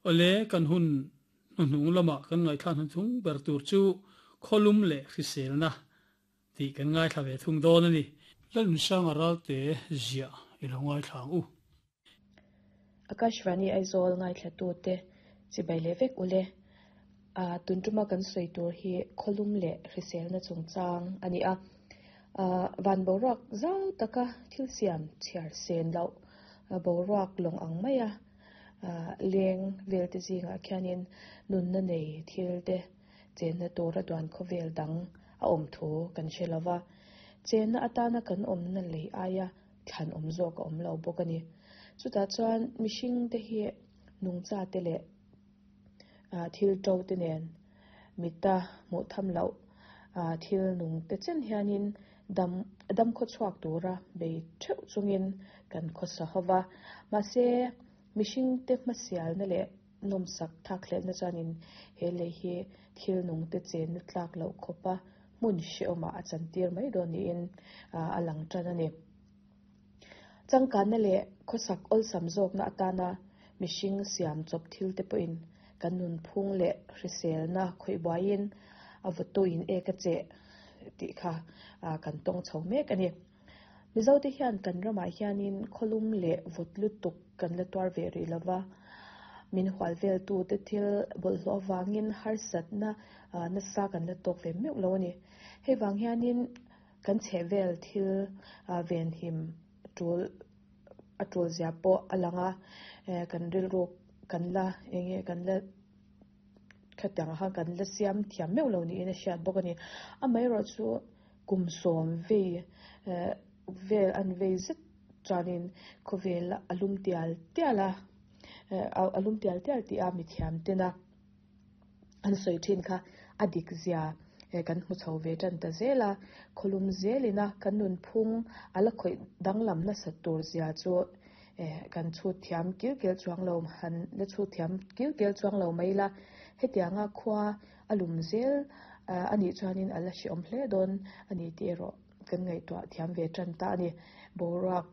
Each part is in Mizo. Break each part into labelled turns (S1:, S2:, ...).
S1: Awle, kan hun hnuhnung lama kan ngaihthlak hnuchung ber tur chu khawlum leh hriselna tih kan ngaithla ve thung dawn a ni. Lalnunsanga Ralte ziah i lo ngaithla ang u.
S2: Akashvani Aizawl ngaithlatute chibai leh vek ule. A tun tuma kan sawi tur hi khawlum leh hriselna chungchang a ni a. Van boruak zau taka thil siam chhiar sen loh boruak lawng ang maia leng velte zingah khianin nunna nei thil te chenna tura duan khawvel dang a awm thu kan hre lo va. Chenna atana kan awmna lei aia thlan awm zawk a awm lo bawk a ni. Chutah chuan mihring te hi nungcha te leh thil to te nen mita hmuh tham loh thil nung te chen hianin dam dam khawchhuak tura bei theuh chungin kan khawsa ho va. Mahse mihring te hmasialna leh nawmsak thak hletna chuanin he lei hi thil nung te chenna tlak loh khawpa hmun hrehawmah a chantir mai dawn niin a lang tan a ni. Changkanna leh khawsak awlsam zawkna atana mihring siam chawp thil te pawhin kan nunphung leh hriselna khawih buaiin a vawtuin ek a cheh tih kha kan tawng chho mek a ni. Mizote hian kan ramah hianin khawlum leh vawt lutuk kan la tuar ve rih lova, min hual veltute thil bawlhhlawh avangin harsatna nasa kan la tawk ve meuh lo a ni. Hei vang hianin kan chhehvel thil venhim tul a tul zia pawh a lang a, kan rilru kan la eng nge kan la khatiang kha kan la siam thiam meuh lo niin a hriat bawk a ni. Amaherawhchu Kum sawm vei vel an vei zet chuanin khawvel a lum tial tial a, a lum tial tial tih a mithiam tena an sawi thin kha a dik zia kan hmu chho ve tan ta zel a, khawlum zelina kan nunphung a la khawih danglam nasat tur zia chu kan chhut thiam kil kel chuang lo han la chhut thiam kil kel chuang lo mai ila, hetianga khua A lum zel a nih chuanin a la hrehawm hle dawn a ni tih erawh kan ngaihtuah thiam ve tan ta a ni. Boruak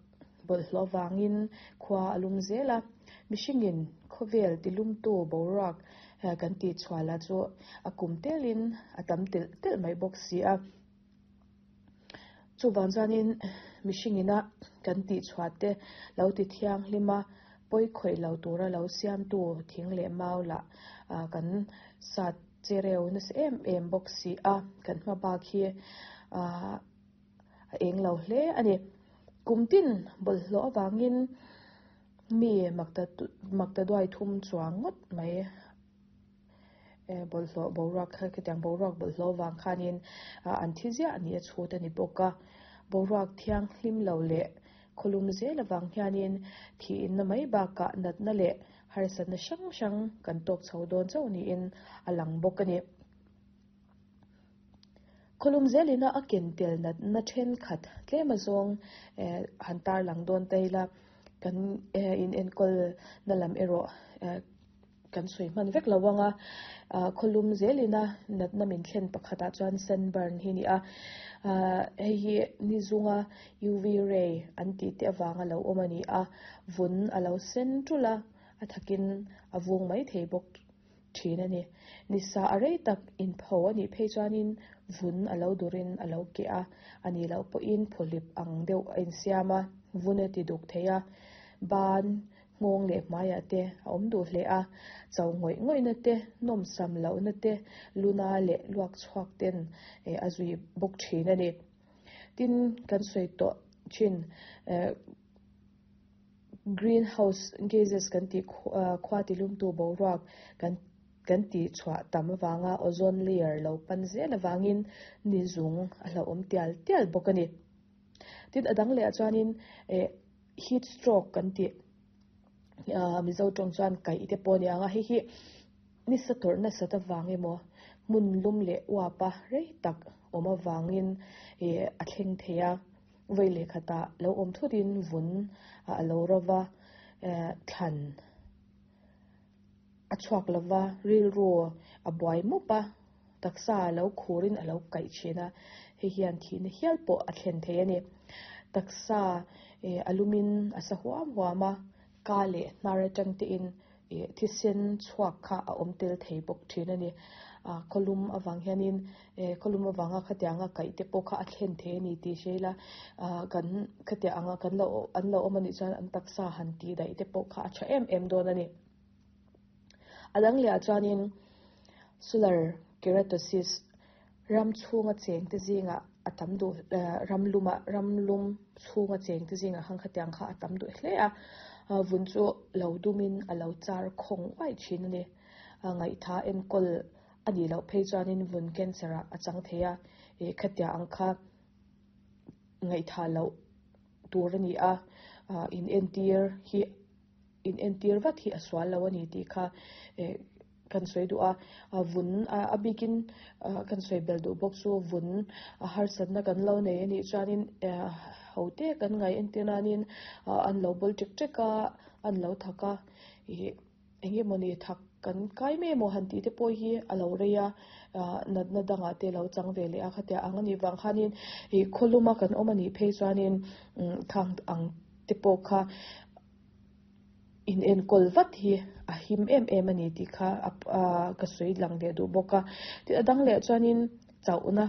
S2: bawlhhlawh vangin khua a lum zel a, mihringin khawvel tilumtu boruak kan tih chhuah lah chu a kum telin a tam telh telh mai bawk si a. Chuvang chuanin mihringina kan tih chhuah te lo ti thianghlim a, pawi khawih lo tura lo siamtu thing leh mau lah kan sat che reu nasa em em bawk si a, kan hma bak hi a eng lo hle a ni. Kum tin bawlhhlawh avangin mi makta duai thum chuang ngawt mai. Bawlhhlawh boruak kha khitiang boruak bawlhhlawh vang khanin an thi ziah a ni a chhut a ni bawk a. Boruak thianghlim lo leh khawlum zel avang hianin thiinna mai bakah natna leh harsatna hrang hrang kan tawk chho dawn chauh niin a lang bawk a ni. Khawlum zelina a ken tel natna thenkhat tlem azawng han tarlang dawn ta ila kan inenkawl na lam erawh Kan sawi hman vek lo ang a, khawlum zelina natna min thlen pakhatah chuan sunburn hi a ni a, hei hi ni zunga UV ray an tih te avanga lo awm a ni a, vun a lo sen tul a, a thakin a vung mai thei bawk thin a ni. Nisa a rei tak inpho a nih phei chuanin vun a lo durin a lo keh a, a nih loh pawhin phawhlip ang deuh a insiam a, vun a ti duk thei a, ban Nghawng leh hmaiah te a awm duh hle a, cho ngawih ngawihna te, nawmsam lohna te, luna leh luak chhuak ten a zui bawk thin a ni. Tin, kan sawi tawh thin greenhouse gases kan tih khua tilumtu boruak kan kan tih chhuah tam avanga ozone layer lo pan zel avangin ni zung a hlauhawm tial tial bawk a ni. Tin, a dang leh ah chuanin Heat stroke kan tih Mizo tawng chuan kaih te pawh a ni ang a, hei hi nisa tawrh nasat avang emaw hmun lum leh uap a rei tak awm avangin ih a thleng thei a, vawi leh khatah lo awm thutin vun a lo ro va, thlan a chhuak lo va, rilru a buai mup a, taksa a lo khurin a lo kaih thin a, hei hian thihna hial pawh a thlen thei a ni. Taksa a lumin a sa huam huam a, ka leh hnar atang tein Ih thisen chhuak kha a awm tel thei bawk thin a ni. Ah khawlum avang hianin eh khawlum avanga khatianga kaih te pawh kha a thlen thei a ni tih hre ila ah kan khatiang anga kan lo an lo awm a nih chuan an taksa han tih daih te pawh kha a tha em em dawn a ni. A dang leh ah chuanin solar keratosis ram chhunga cheng te zingah a tam duh ram luma ram lum chhunga cheng te zingah khan khatiang kha a tam duh hle a, vun chu lo dumin a lo char khawng uaih thin a ni. Ngaihtha enkawl a nih loh phei chuanin vun cancer ah a chang thei a, ih khatiang ang kha ngaihtha loh tur a ni a, in entir hi. In entir vat hi a sual lo a ni tih kha kan sawi duh a, vun a bikin kan sawi bel duh bawk chu vun a harsatna kan lo nei a nih chuanin ho te kan ngaih entir nanin an lo bawl ṭek ṭek a, an lo thak a, ih eng emawni thak kan kai mai emaw han tih te pawh hi a lo rei a, natna dangah te lo chang ve leh a khatia ang a nih vang khanin ih khawluma kan awm a nih phei chuanin thang ang te pawh kha. Inenkawl vat hi a him em em a ni tih kha ka sawi lang leh duh bawk a. Tin a dang leh chuanin chauhna.